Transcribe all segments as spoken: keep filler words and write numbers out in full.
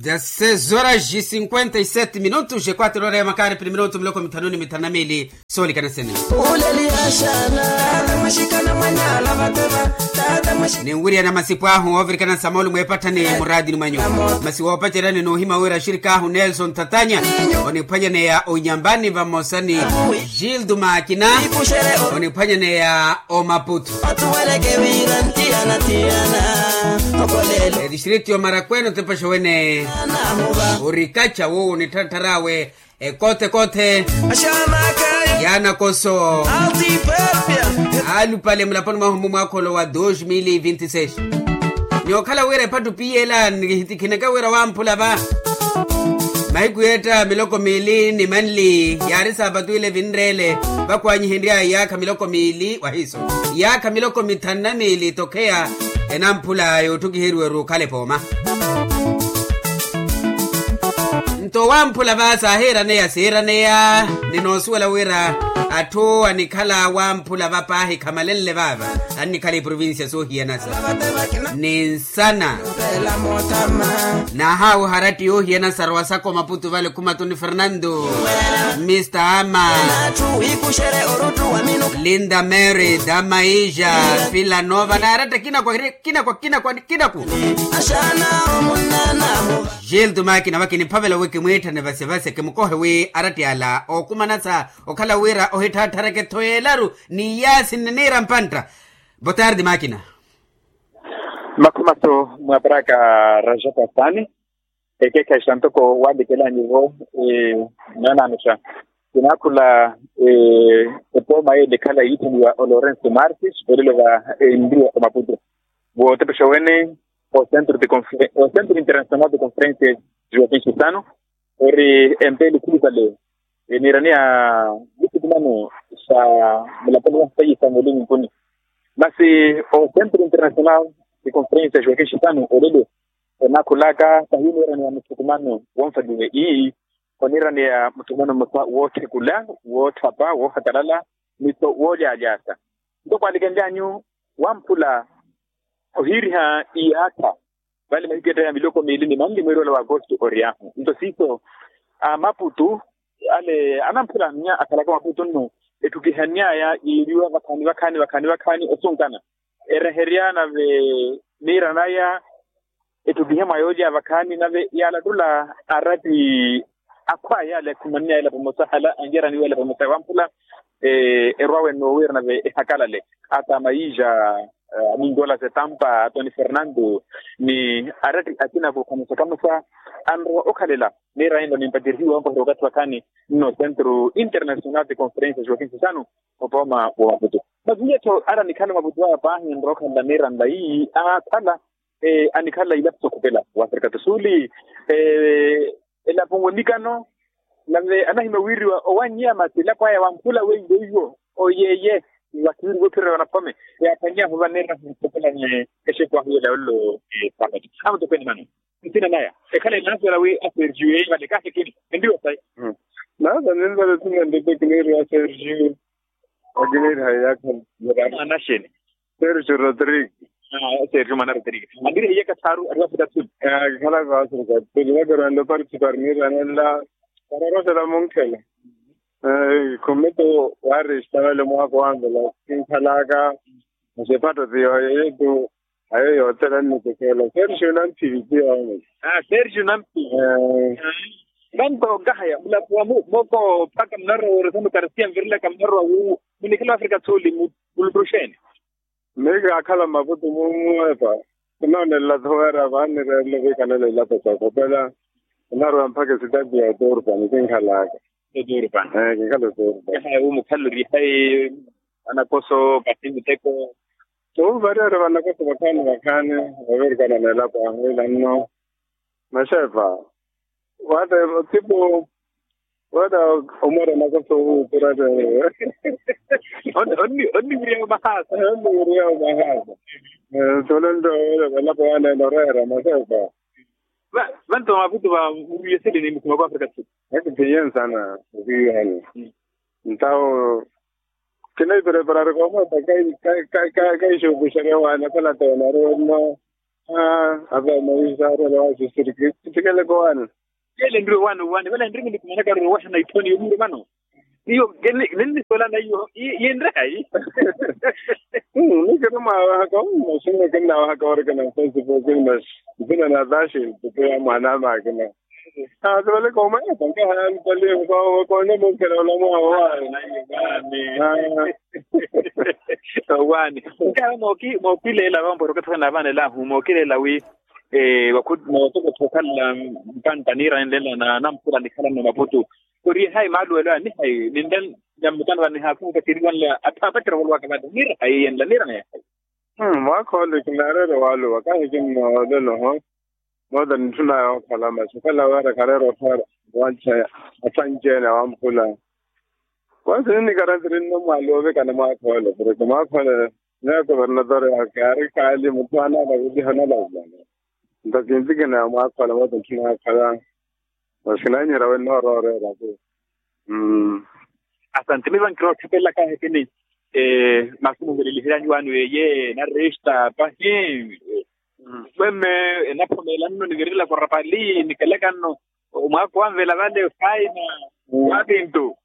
Dezasseis horas e cinquenta e sete minutos e quatro horas ya makaari pili minutu miloko mithanu ni mithanu na miili. Soolikana sene. Uleli axana. Tata mwaxikana mwanyaala vateva. Tata mwaxi- Ninwiriyana masipu ahu oovirikana samoolu mweepattha ni muraatini mwanyu. Masi woopaceryani n'uhima wira axirikaahu nelson tatanya oniphwanyaneya onyambani vamosa ni gildo makina oniphwanyaneya omaputu. Etistrikti yo marakweno tepaxa wene orikaca wowo nittharatthar'awe. Ekothekothe yaanakoso alupale mulaponi mwahu mmu mwaakholo wa dos mil vinti seis. Ni okhala wira ephattu piyela nikhitikhineke wira wamphula va mahiku yeetta miloko miili ni manli yaari saapatu ile vinreele vakwanyihenry'aya iyaakha miloko miili wahiiso iyaakha miloko mithanu na miili tokheya enamphula yootthukiheriwa-ru okhala epooma. Nto wamphula va saahiiraneya siiraneya ni noosuwela wira atthu anikhala wamphula va paahi khamalenle vaava annikhala eprovincia soohiyanasa ni nsana. Nahaawuha aratti yoohiyanasa rowa saka omaputu vale khumatu ni fernando mista ama linda mary damaija pilanova na aratta kinakwa kinakwa kinakwa kinakwa. Gildo makina vakiniphavela wi kimwiitthane vasevase kimukohe wi aratti ala ookumanasa okhala wira ohitthatthareke-tho yeelaru ni iyaasi nniniira mpantta. Botardi makina. Makhumaso mwaparaka rajapu asaani. Ekeekhayi santoko waalikelani vo. Naananuxa kinaakhula epooma yeele ekhala yiitheliwa o lorenso martis olelo va enriwa omaputu. Vootepexa wene o centro internacional de conferencia joaquin sisano ori empeele khulupale eniiraniya mithukumano sa mulaponi wa sayi sa mulimu nkuni. Masi o centro internacional de conferencia joaquin sisano olelo onaakhulaka pahi oniiraniya muthukumano wonfaliwe ii oniiraniya muthukumano mmosa wootthekula wootthapa woohakalala ni to woolyalyaasa. Nto kwaalikenlyanyu wamphula ohiiriha iyaakha vale mahiku etta ya miloko miili ni manli mweeri wala wa agosto oriyaahu nto siiso amaputu ale anamphula annya akhalaka maputu nno etthukihany'aya yiiriwa vakhaani vakhaani vakhaani vakhaani osunkana ereherya nave miira naya etthukihe mwa yoolya vakhaani nave yaalattula aratti akhwaya ale akhumanneya ela pamosa hala anyaraniwa ela pamosa wamphula erwawe nnowiira nave ehakalale ata maija aninkola setampa atoni fernando ni aratti akina kukhamusa-khamusa anrowa okhalela miira ino nimpacerhiwa onkoherya okathi wakhaani nno centro internacional de conferencia joaquin sisano. Opooma wa maputu maviye-tho ara nikhala maputu aya paahi nrowa okhalela miira nlayi aakhala anikhala ilapo sokhupela wa afrika to suli elapo nwenikano nave anahimya wiiriwa owanyiya masi elapo aya wamphula weiwo oyeeye wakiwiriwa ophirira wanaphome yaaphwanyahu vaneera nkhopela ni exeku ahu yela yollo. Amutokweni mano nsina naya ekhala enaasola wi asergiu yeyi vale kaahikini endiwo sayi. Nasa ninzale sina ndeteki neeri asergiu akiniiri hayi yakhani mwana xeni. Sergio rodrigo. Sergio mwana rodrigo ambiri hiye kathaaru ariwafika tsuli. Kikhalaka wasergio tsuli vakeranle oparticipar niiranenla pararosela munkhela khumito warista vale mwaako wanvela kinkhalaka. Masi ephatto ti yooyo yetu ayo yoothela nnitekela sergio namphili ti yooyo. Sergio namphili. Vanto nkahaya mulapo wa moko mpakha munarowa orisano karisiya nvirilaka munarowa wuwo munikhala afrika tsuli. Muluttuxeene. Mmi kaakhala mmaputu mumuwepa kinoonelela thoweera vaanireerele viikanela ilapo sookhopela. Onarowa mpakha esitati ya oturpa nikinkhalaka. Oturpa. Kinkhala oturpa. Ehaya wumukhalori hayi vanakoso pati miteko. Owu variyari vanakoso vakhaani vakhaani vavirikana n'elapo ahu ila nno. Maxepa wata tipu wata omwera nakoso wuuturate. Onniwiriya omahaasa. Onniwiriya omahaasa. Sole nto elapo yaneene oreera maxepa. Vanto maputu va muriyesele ni mukhuma kwa afrika tsuli. Eti piyensana okiyuhani. Ntawo kinahipreparari koomwepa kaixuupuxerya waana khalata onari wenno. Aa, ava mawisaarela waasisiriki. Ttikeleke owaani. Yeele nriwe owaani owaani vale nrimi nikumanaka rowaxa na itthoni yomiire vano. Iyo, ninnisolana iyo yinre hayi? Nikiri mwaawahaka ommasi nikinnaawahaka orikina nfesipuki masi. Mpina na taxi. Tupeya mwaana amakina. Aasivaleke omayatankaha yalupaliye. Koone mukhela olamwawo wayo. Owaani. Nkawe mookileela vampo ori okathi anaavaana elahu mookileela wi, mootokottho okhalela mpantta niira ninlenla na namphula nikhalanno maputu. Ori ehayi maaluwelo aya nihayi ninle nyamutano vanihaakhunka kiriwanle atthu apacerevolowa kavata niira hayi yenla niira naye hayi. Mwaakha ole kinaareera owaluwa kahi kinnoolelo ho. Moota nitthunaya okhala masi okhala wira khareera ottha wancheya. Atthu anci-ene awamphula. Wansi ninnikarantiri nno mwaluwa ovikana mwaakha ole porke mwaakha ole. Neya kovernatori aka ari khaali mutthu anaala vuliha onalaulana. Nto kintikineya mwaakha ole moota nitthunaya okhala. Masi kinaanyihira wenna orooreera ku. Asanti miva nkirootthapelela kahekini. Masi muveleliheryanyu waani weeye naresta pahi. Mwemme enaphomeela nno nivirela korapali nikeleka nno. Omwaako wanvela vale faina. Waapintu.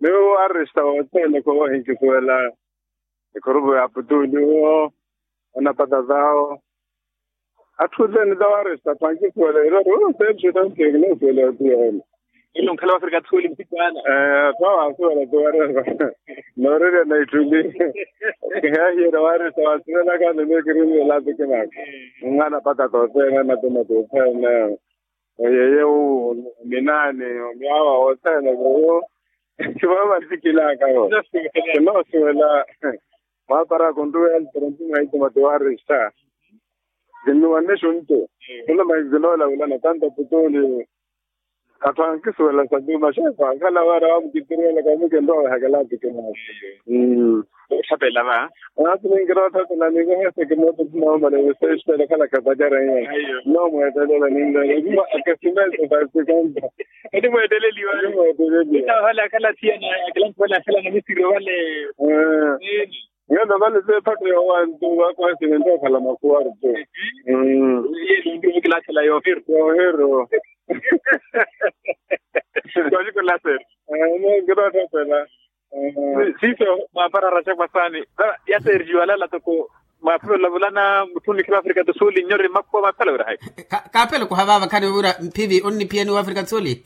Miwo aresta wothene kowo hinkisuwela. Ekhurupu ya putuli wo. Onapata zawo. Atthu othene tawaresta pankisuwela erori oseepseta nthekina osuwela atiyoona. Ilo nkhala wafrika thuli mpikwana. Tawaasuwela tiwareva. Nooreerya na ittuli. Kihahiyela waresta waasuwelaka nene kirinwela apikinaka. Nng'ana pata tothene anatuma tothene. Oyeye wu ominaani omyaawa wothene kuwo. Kivavansikilaka vo. Kinoosuwela. Mwaparaka onruwela tironti mwaituma tiwaresta. Kinnuwanne xuntu. Khuluma kinoola wulana tanto putuli. Atthu ankisuwela satuma xeefa ankhala wira wamukitiriwelaka omukinrowa wehakela atikina. Otthapelela va. Aasi ninkira otthapelela ninkoheseke mooto thinaomale wiseexipela khalaka pacareya. Nomweetelela ninleela akesimeso kaasikonta. Eti mweeteleliwa. Eti mweeteleliwa. Etawahala akhala thiyana akilanthi vale akhala na misiro vale. Ngeelo vale seephatto yoowantu vakwasini nto okhala makhuwa artu. Yelo nti ovikilaathela yoohiru. Yoohiru. Koolikolaseri. Ngirootthapela. Siiso mwaapara raxa kwasaani. Yaseerixiwa alala toko. Mwaaphelela vulana mutthu onikhira wafrika do suli nyori makhuwa mwaaphelela wira hayi? Kaapeleko havaava khani wira mphivi onniphiyani wafrika do suli.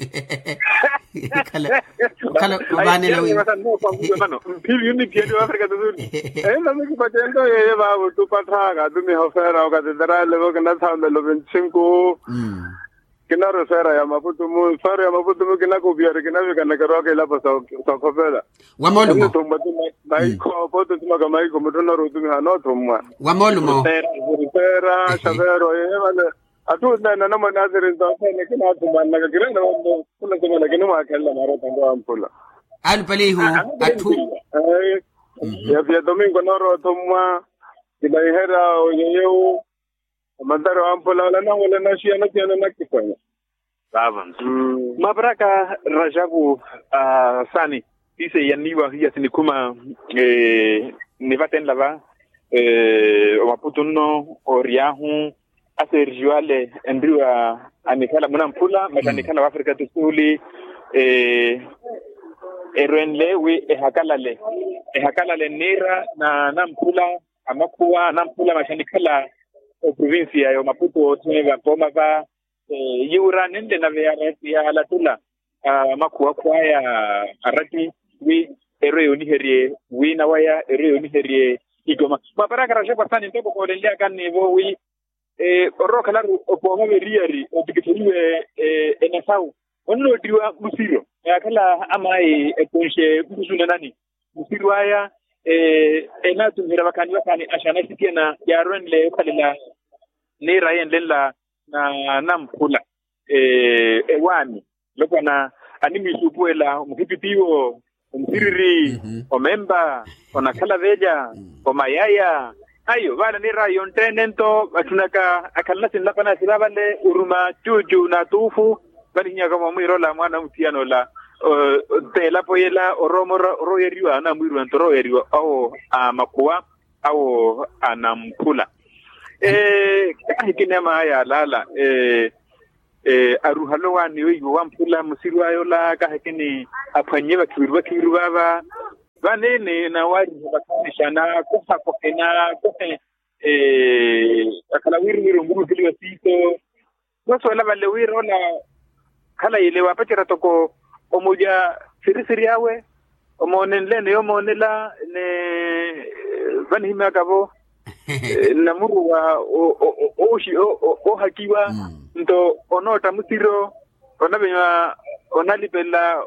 Khala khala ovaanela wira. Mphivi onniphiyani wafrika do suli. Ena mikipatento yeye vaavo tupatthaka atumiha ofeera okateteralevo kinathaamela ovintthinku. Kinarwa esfera ya maputumu esfera ya maputumu kinakopiyari kinavikanaka erwaka ilapo sa okhopela. Wamoolumo. Maikho pote othumaka maikho mutthu onarwa otumiha anoothumwa. Wamoolumo. Esfera xavero yeye vale. Atthu onene anamwane asirinza othene kinathumanaka kirene vambo. Khulazimana kinimwakhelela maarota nto wamphula. Alupalihu. Atthu. Ya domingo noorwa othumwa. Kinaiherya oyeyewu. Omantari wamphula ola nahola naxiya nathiyana nakipwanya. Vavo. Mwaparaka rajavu. Sani sise yanniiwa hiya sinikhuma. Nivatenla va omaputu nno oryahu asergio ale enriwa anikhala munamphula masi anikhala wafrika do suli. Erwenle wi ehakalale ehakalale nniira na namphula amakhuwa anamphula masi anikhala oprovincia ya omaputu othene vapooma va. Yiwura ninle nave yalatula amakhuwa akhwaya arati wi erwe yooniherye wina waya erwe yooniherye ikoma. Mwaparaka raxa kwasani ntoko koolenlyaka nnivo wi orookhala ari opooma veriyari otikitheliwe enasawu onnootiwa musiro yaakhala amayi ekonxe nkusunanani. Musiri waya enatumiherya vakhaani vakhaani axana esikena yaarwenle okhalela niira yenlenla na namphula ewaani. Lopwana animwiisuupuwela omuhipitiwo omusiriri omemba onakhala velya omayaya. Ayo vaala niira yonttene nto vatthunaka akhalana sinlapana sila vale oruma cuucu na tuufu. Vanihinyaka mwamwiirola mwaana amuthiyana ola elapo yela oroomora orooyeriwa anamwiiriwa nto orooyeriwa awo a makhuwa awo anamphula. Kaahikini amaya alaala aruhale owaani weiwo wamphula musiri ayola kaahikini aphwannye vakhiviru vakhiviru vaava. Vanene nawariha vakhaanixa nakohakohe nakohe akhala wiriwiri onkuruheliwa siiso. Nosuwela vale wira ola khalayi ele waapacerya toko omuja sirisiri awe omoonenle ni yomoonela ni vanihimyaka-vo namuruwa oohakiwa nto onootta musiro onavenywa onalipelela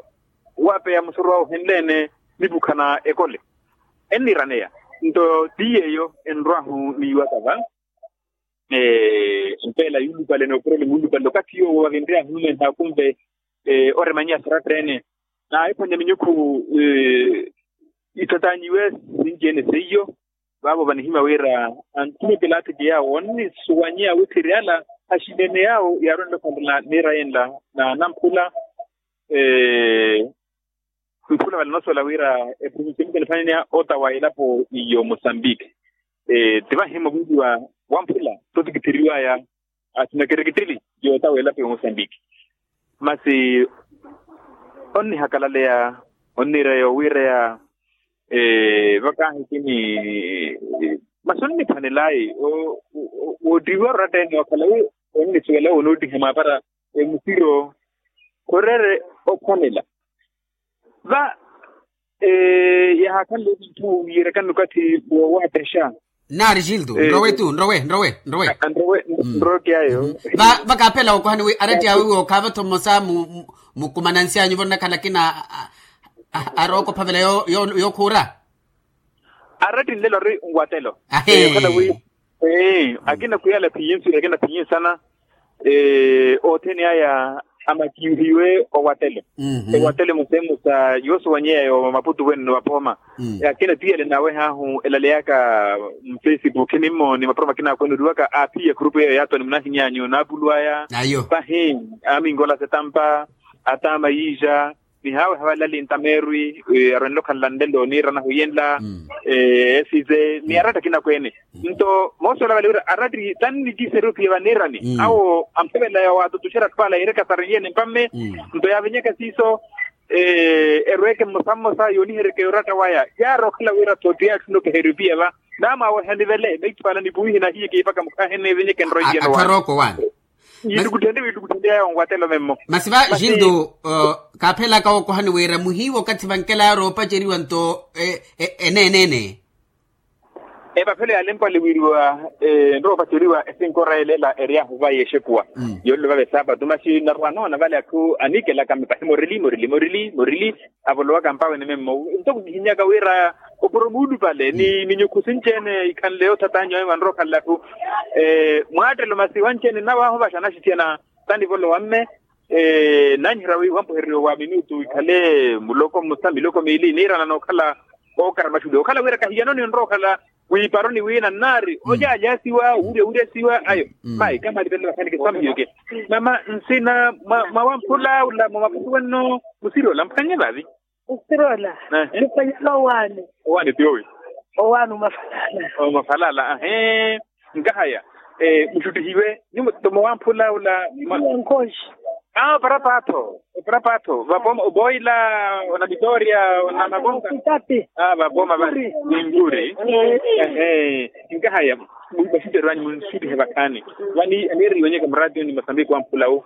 waapeya musoro awe ohenle-ene nipukha na ekole enniiraneya nto ti yeeyo enrw'ahu niiwaka va. Mpeela yuulupale n'oporole muulupale okathi yoowo avinry'ahu numenh'akumve oremanyiha saratta-ene naahiphwanya minyukhu ithatanyiwe sinci-ene seiyo. Vaavo vanihimya wira anthumeke elaatiki yaawo onnisuwanyeya witthiri ala axinene yaawo yaarwenle okhantela niira yenla na namphula mphula vale noosuwela wira eprovincia mukeniphwanene ota wa elapo iyo mosambiki. Ti vahimya oviiviwa wamphula totikitheriwaya asina kereketeli yoota wa elapo ya mosambiki. Masi onnihakalaleya onniireya owiireya vakaahikini masi onniphwanelayi woottihiwa oratta-ene wakhala wi onnisuwela wonoottiha mwaapara emusiro khureere ophwanela. Va yahaakhanle etthu yiirekani okathi woowattexa. Naari gildo nrowe tu nrowe nrowe nrowe nrowe nrowe kiyaayo. Va vakaaphela wokohani wi aratti awe wi okhaava-tho mmosa mukumanansi anyu vonnakhana akina arooko ophavela yookhuura. Arattinlelo ari nwatelo. Ahee. Okhala wi akina khwiyala phinyi nswiri akina phinyi nsana othene aya amakihiwe owatelo. Owatelo musemusa yoosuwanyeya yo maputu wenno vapooma. Akina tiyale nawe haahu elaleyaka mfacebook nimmooni maporoma akina akwenuriwaka aaphiya khurupu yeeyo yaatoni munahinyanyu naapulu aya. Pahi amingola setampa ataama yiija. Ni haawe havalali ntameerwi arwenle okhanla nlelo niirana huyenla esize ni aratta akina akweene. Nto moosola vale wira aratti tannikiseriwe phiya vaniirani awo amphevelaya waatutuxera atthu ala yiireka sarinyeene mpamme. Nto yaavenyeke siiso erweeke mmosa mmosa yooniheryeke yoratta waya yaari okhala wira tho ti atthu nokeheriwe phiya va. Naamwaaweha nivele meitho ala nipuwihi nahiye kiipaka mukhaahene evenyeke nroiye no waani. Atharooko waani. Yiitukutthende wiitukutthende yaayo onwatelo memmo. Masi va gildo kaaphelaka wokohani wira muhiiwa okathi vankelaya roopaceriwa nto eneeneene. Epaphelo yaalempwale wiiriwa enroopaceriwa esinkorelela eryahu va yeexekuwa. Yoolelo vava esaapatu masi narwa noona vale atthu aniikelaka mipahimo rili morili morili morili. Avolowaka mpawe ni memmo ntoko kihinyaka wira opuro muulupale ni minyukhu sinci-ene ikhanle yoothatanyiwa ewanrookhalela atthu. Mwaattelo masi wanci-ene nnawahu vaxa naxithiyana tanivolowa mme. Nanhira wi wampuhereriwa wa minutu ikhale muloko mmosa miloko miili niirana nookhala ookara maxuliwa okhala wira kahiyano ninrookhala. Wiiparoni wiina nnaari olyaalyasiwa wuryawuryasiwa ayo. Mayi kamalipelela vakhanike samhiyoke. Mama nsina mwa wamphula ula mwa maputu wenno musiri ola mphwanye vaavi. Musiri ola mphwanyela owaani. Owaani tiyowi. Owaani omafalala. Omafalala ahee. Nkahaya muxuttihiwe nyumo tomo wamphula ula. Nkhoxi. Aa oparapaatho. Oparapaatho vapooma oboila ona vitoria ona makonka. Aa vapooma va ninkuri. Ehe. Nkahaya vaxitterwanyu munxuttihe vakhaani vani aniiriwanyeke muraatiyo ni masambiki wamphula wu.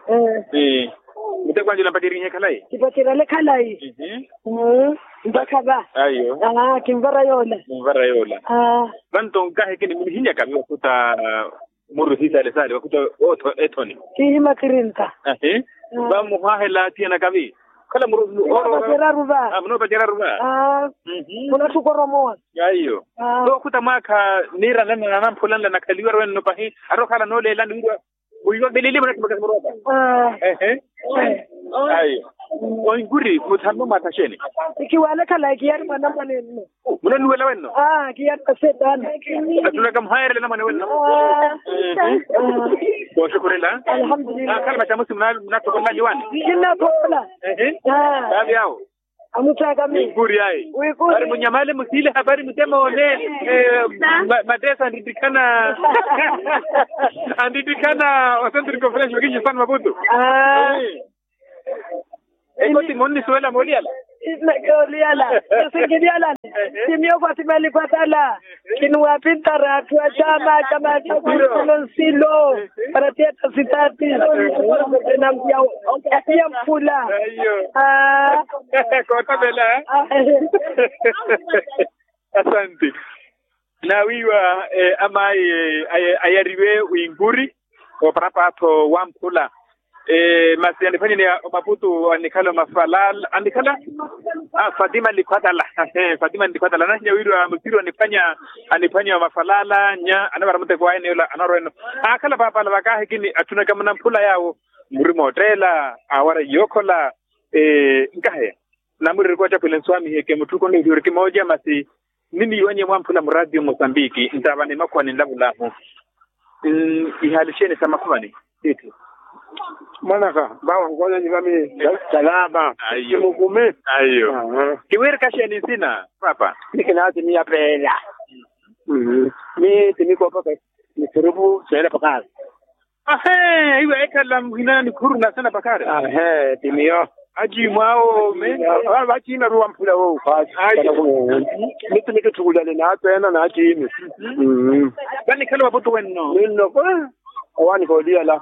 Mutekwanjula mpaceryihe khalayi. Kipacerale khalayi. Mpakha va. Ayo. Kinvara yoola. Kinvara yoola. Vanto nkahekeni munihinyaka vi vakhuta. Muru hiisale sale vakhuta ootho ethoni. Kiihima kirinta. Ahi. Vamuhwahela athiyanaka vi. Khala muru. Munopaceraru va. Munopaceraru va. Munatthukoromowa. Aiyo. Vakhuta mwaakha niiranlana nanamphula nla nakhaliwa rwenno pahi. Ari okhala nooleelani wirwa. Muiwa veleliye munatthimaka simuroopa. Ehe. Aiyo. Onkuri muthanno mwaathaxeni. Kiwalekhala kiyari mwanamwane nno. Munannuwela wenno. Kiyari masetana. Atulaka muhayerelela mwana wenno. Kooxukhurela. Alhamdulillah. Khala maxamusi munathokolela liwani. Kinnathokola. Ehe. Vaavi awo. Amuttaka mi. Wikuri ayi. Wikuri. Ari munyamale musiile hapari mutemoone. Matesa andittikhana andittikhana osentrikofrenshi wakishi sani maputu. Ekoti monnisuwela mooliyala. Mooliyala. Sinkilyalani. Simiyo kwa simali kwatala. Kinuwapintara atthu a caama caama cakunsilo nsilo. Para tiyetta sitati. Nampiya mphula. Kootavela. Asanti. Naawiiwa amaayi ayariwe winkuri. Oparapatho wamphula. Masi aniphwanyeni omaputu anikhala omafalala anikhala. Fatima nikhwatala. Fatima nikhwatala anahinya wiiriwa musiri aniphwanya aniphwanya omafalala nya anavara muteko aye niyoola anarweno. Akhala paapala vakahikini atthunaka munamphula yaawo. Murima otteela awara yookhola. Nkahe namurereke ocaphwile nswamiheke mutthu konno iriwiriki mooja masi. Niniiwanye mwamphula muraatiyo mosambiki ntaavani makhuwani nlavulaahu. Ihaali xeeni sa makhuvani? Tiithi. Mwanaka vawa nkoonanyi vami. Salama. Kimukumi. Kiwirika xeeni nsina papa? Nikinaati miya peela. Mi timikoopaka. Nisurupu seela pakari. Ahe iwe ekhala muhina nikhuru nasena pakari. Ahe timiyo. Aciimwaawo me. Vaciime ruwa mphula wowu. Mitimitu thukulale naatweena naaciimi. Vanikhala vaputu wenno ninno. Owaani kooliyala.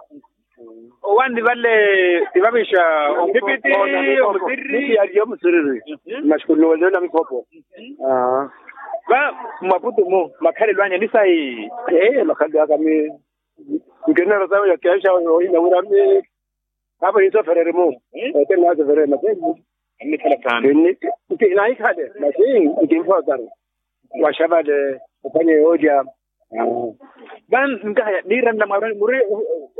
Owaani vale tivavixa. Ompipiti omusiriri. Mitiyaariye omusiriri. Maxikuluwelelo na mikhopo. Va mmaputu-mu makhalelo anyu enisayi? Ee makhalelo aka mi nkinera sawe yakeexa ohina wira mi. Apo ninsofereri-mu. Ete ninaasofereri mapembu. Nkinaikhale masi nkinfootari. Waxavale ophwanye yoolya. Van nkahaya niiranela mwaaroni muri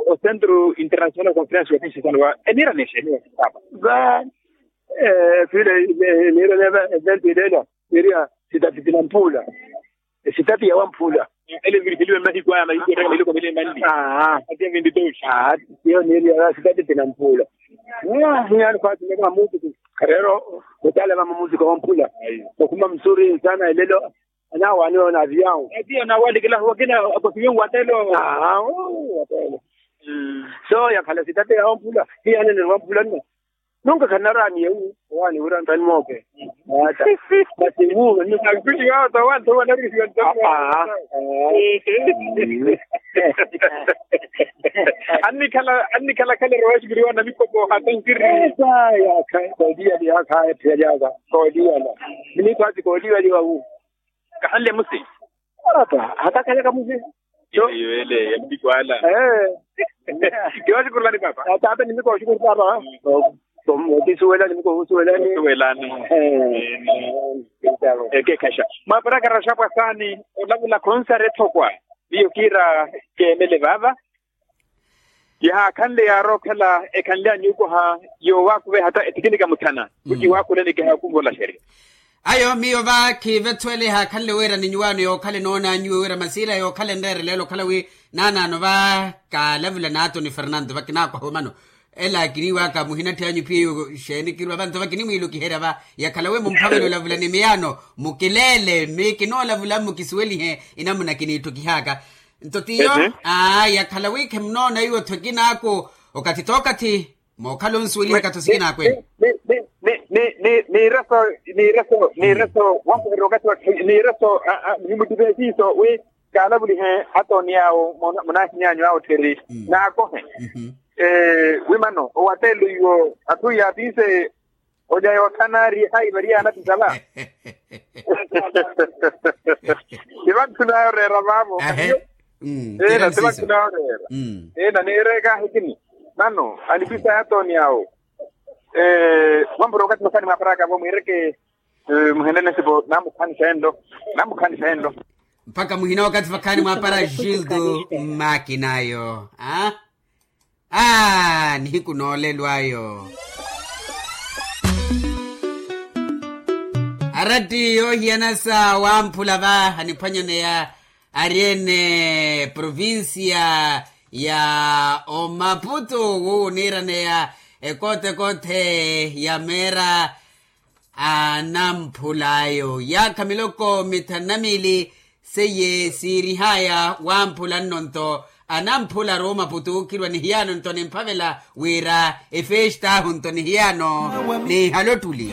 ocentro international conference wa kinxisano wa eniiranexa eniwa sisapa? Va vile niiranela evento ileela. Niiriya sitati tinampuula. Esitati ya wampuula. Ele viriheliwe mahiku aya mahiku ettaka mahiku mahiku manli. Aa. Atiya vintitoxi. Aa. Tiyo niiriya sitati tinampuula. Nyani khwatimeka mamutuku. Khareero kutala va mamutuku wampuula. Okhuma musuri nsana elelo. Anawaaniwa na aviyawu. Atiya onawalikilahu wakina akofiwe watelo. Aa. Watelo. So yakhala sitati ya wampuula. Hiyanene wampuula nno. Nunka khanaraani ewu owaani wira nttani mooke. Ata masi wuuve nunka. Ankwiiwa ota wanthu owanarisiwa nttani mooke. Annikhala annikhala khale rowa exikiriwa na mikhopo hata nkiri. Esa yaakha kooliyali yaakha ephiyali yaakha kooliyala. Minikho ati kooliyali wawu. Kahanle musi. Ata hatakhalaka musi. Yo yo ele ya mpikwala. Kiwasikurulani papa. Tata nimiko oxikuru papa. Otisuwelani miko osuwelani. Suwelani. Ekekhaxa mwaparakara xapwa saani. Olavula khonsari ethokwa. Miyo kiira keemele vaava. Yahaakhanle yaarookhala ekhanle anyuukuha. Yoowakuve hata etikinika muthana kuti waakuleneke hakumvola xerya. Ayo miyo va khiivethuwele ehaakhanle wira ninyuwaano yookhala enoona anyuwe wira masiila yookhala enreereleela okhala wi naanaano va kaalavula naatoni fernanto va kinaakwaha omano. Ela kiniiwaka muhinatthi anyu piyeiwo xeeni kirwa vanto va kinimwiilukiherya va yakhala wi mumphavele olavula ni miyaano. Mukileele mi kinoolavula mmukisuwelihe inamuna kiniitthukihaka. Nto tiyo aa yakhala wi khimunoona iwo tho kinaaku okathi t'okathi. Mookhala onsuweliha ekathi osikina akwene. Niiraso niiraso niiraso wankuherya okathi wa niiraso. Nimuttiphe siiso wi kaalavulihe atooni awo. Munaahinyaanyu awo tthiri naakohe. Wi mano owatelo iwo atthu yaatinse. Olya yootthana ari ehayi vari yaanatisala. Ti vantthuna yoreera vaavo. Eena ti vantthuna yoreera. Eena niireka ahikini nano anipisa yatooni awo. Mwampuro okathi mwakhani mwaaparaka vo mwiireke. Muhenene sipo namukhani senlo. Namukhani senlo. Mpakha muhina okathi vakhani mwaapara gildo mmakinayo. Aa nihiku noolelwayo. Aratti yoohiyana sa wamphula va aniphwanyaneya ari ene provincia ya omaputu wuwo oniiraneya ekoote ekoote ya meera. anamphul'ayo yaakha miloko mithanu na miili. Seiye siirih'aya wamphula nno nto anamphula aruuma putuukirwa nihiyaano nto nimphavela wira efeest'ahu nto nihiyaano niihalottuli.